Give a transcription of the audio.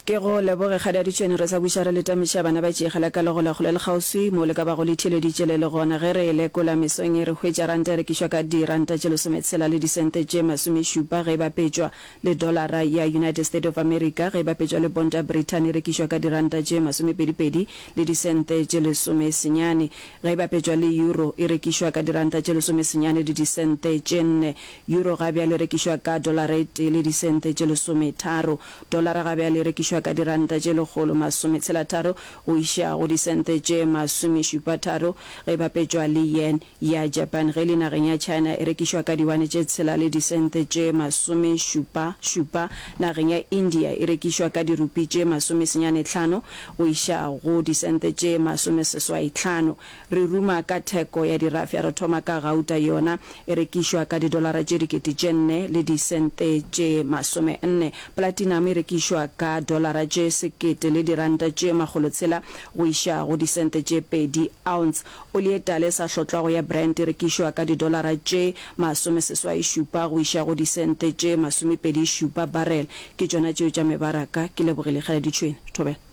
Ke go leboge Kgadi a Ditšhwene, re sa buša re le tamiša bana ba tšeegela ka legola kgole le kgauswi moo le ka bago le theeleditše le le gona. Ge re e lekola mesong ye re hwetša ranta e rekišwa ka diranta tše lesometshela le disente tše masomešupa ge e bapetšwa le dolara ya United State of America, ge e bapetšwa le ponto ya Brithani e rekišwa ka diranta tše masomepedipedi le disente tše lesomesenyane, ge e bapetšwa le euro e rekišwa ka diranta tše lesomesenyane le disente tše nne. Euro ga bjale e rekišwa ka dolara e tee le disente tše lesometharo. Dolara ga bjale e rekišwa ka diranta tše 163 go iša go disente tše masomešupatharo ge e bapetšwa le yen ya Japan. Ge e le nageng ya China e rekišwa ka diwane tše tshela le disente tše masomešupa šupa. Nageng ya India e rekišwa ka dirupi tše masomesenyanehlano go iša go disente tše masomeseswaihlano. Re ruma ka theko ya dirafša, re thoma ka gauta, yona e rekišwa ka didolara tše 4000 le disente tše masomenne. Platinum e rekišwa ka dolara tše sekete le diranta tše makgolotshela go iša go disente tše pedi ounce. Oli e tala e sa hlotlwago ya Brent e rekišwa ka didolara tše masomeseswai-šupa go iša go disente tše masomepedi-šupa barrel. Ke tšona tšeo tša mebaraka. Ke lebogile Kgaladi Tšhwene. Thobela.